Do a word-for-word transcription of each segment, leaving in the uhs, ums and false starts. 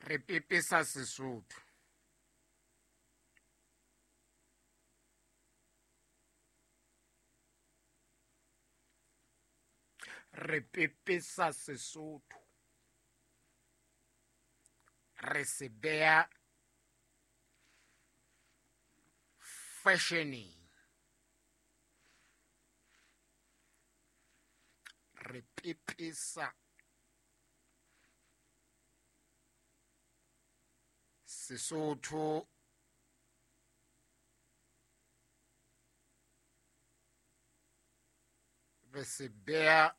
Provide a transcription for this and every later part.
Re pepesa Sesotho. Re pepesa Sesotho. Re se beha fashioneng. Re pepesa Sesotho. Re se beha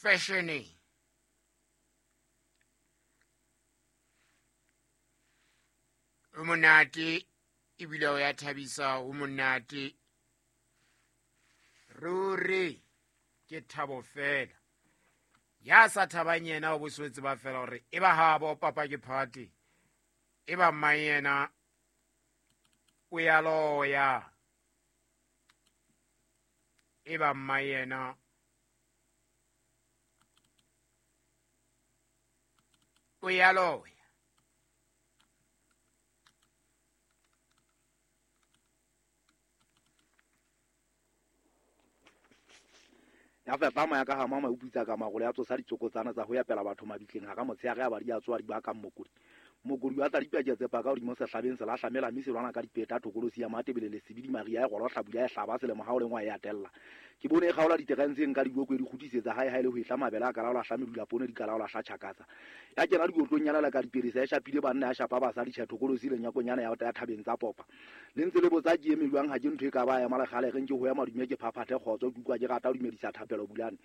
fashioneng. O monate ebile o ya thabisa, o monate ruri, ke thabo fela. Ya sa thabang yena o boswetse ba fela hore e ba habo papa ke party, e ba mang yena o ya loya, e ba mang yena o ya loya. Ya fepa moya ka hama maupitsa ka magolo ya tsosa ditsokotsana tsa ho ya pela batho mabitleng ha ka motshehare ya ba di a tswa di ba ka mmokodi. Mokodi wa tsa dipeke tse paka hodimo sehlabeng se lahlamela mme se lwana ka dipeta thokolosi ya Matebele le Sebidi Maria e golo hlabula ya hlaba selemo ha o lengwa ya tella. Ke bone e kgaola diterentseng ka diboko e di kgutisetsa hae hae le ho etla mabele a kalaola hla medula poone di kalaola hla tjhakatsa. Ya kena dikotlong nyana la ka diperesa ya shapile banna ya shapa basadi tjhe thokolosi le nyakonyana ya ya thabeng tsa popa. Le ntse le botsa ke eme jwang ha ke ntho e ka ba ya malekgale reng ke ho ya madume ke phaphathe kgotso ke utlwa ke rata ho dumedisa thapelo bulane.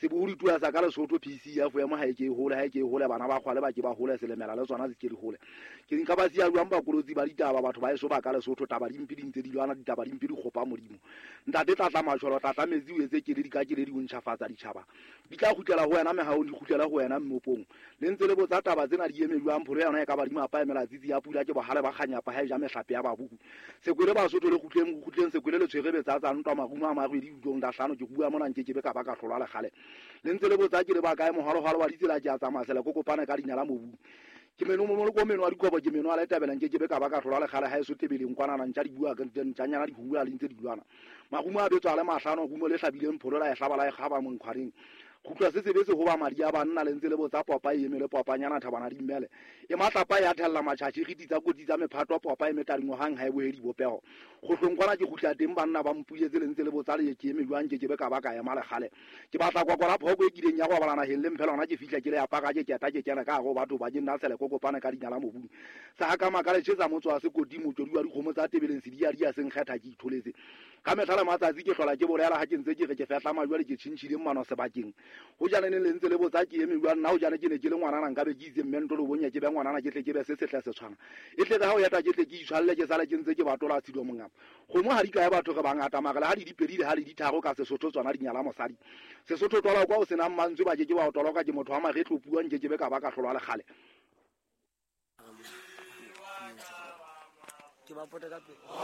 Sebohodi tua sa ka Lesotho P C F ya mo ha e ke e hole ha e ke e hole bana ba kgwale ba ke ba hole selemela le tsona se ke di hole. Ke nka ba siya jwang bakolotsi ba ditaba batho ba eso ba ka Lesotho taba dimpe di ntse di lwana ditaba dimpe di kgopa Modimo. Ntate tlatla matjholo tlatla metsi o etse keledi ka keledi o ntjhafatsa ditjhaba. Di tla kgutlela ho wena mehahong di kgutlela ho wena mmopong. Le ntse le botsa taba tsena di eme jwang pholo yona e ka ba di mapa emela tsitsi ya pula ke bohale ba kganyapa ha e ja mehlape ya babuku. Sekwele Basotho le kgutleng kgutleng sekwele le tshwere betsa tsa ntwa marumo a marwedi utlong da hlano ke bua mona nke ke be ka ba ka hlolwa le kgale. Le ntse le botsa ke le ba kae mohalohalo wa ditsela ke a tsamaya sele ko kopana ka dinyala mobung. Ke meno mo mo meno wa dikobo ke meno a letabela nke ke be ka ba ka hlolwa le kgale ha e so tebeleng kwana ntja di bua ka ntjanyana di bua le ntse di lwana. Marumo a betswa le mahlano rumo le hlabileng pholo la e hlaba la e kgaba monkgwareng. Kgutlwa se sebetse ho ba madi a banna le ntse le botsa popa e emele popanyana thabana di mmele. E matlapa ya thella matjhatjhi re ditsa kotsi tsa mephato popa e metadingwa hang ha e bohe dibopeho. Kgohlong kwana ke kgutla teng banna ba mpuyetse le ntse le botsa le ke eme jwang ke ke be ka ba ka ema lekgale. Ke batla kwakwala phoko e kileng ya go balana heng le mphela hona ke fihla ke le apara ke keta ke kena ka go batho ba ke nna sele kokopana ka dinyala mobung. Sa ka maka le tjhetsa motso wa sekoti motswedi wa dikgomo tsa tebeleng se di ya di ya seng kgetha ke itholetse. Ka mehla le matsatsi ke hlola ke bolela ha ke ntse ke re ke fehla majwale ke tjhintjhile mmano sebakeng. Ho jane ne le ntse le botsa ke eme jwang nna ho jane ke ne ke le ngwanana nka be ke itse mme ntlo bonya ke be ngwanana ke tle ke be se setle se tshwana. E tle ha o yeta ke tle ke itshwalle ke sale ke ntse ke batola tshido mongapa. Kgomo ha di kae batho re bangata mara le ha di dipedi le ha di ditharo ka Sesotho tsona di nyala mosadi. Sesotho twala kwa o senang mantswe ba ke ke ba o toloka ke motho wa maretlo puang ke ke be ka ba ka hlolwa le kgale. Ke ba pota ka pele.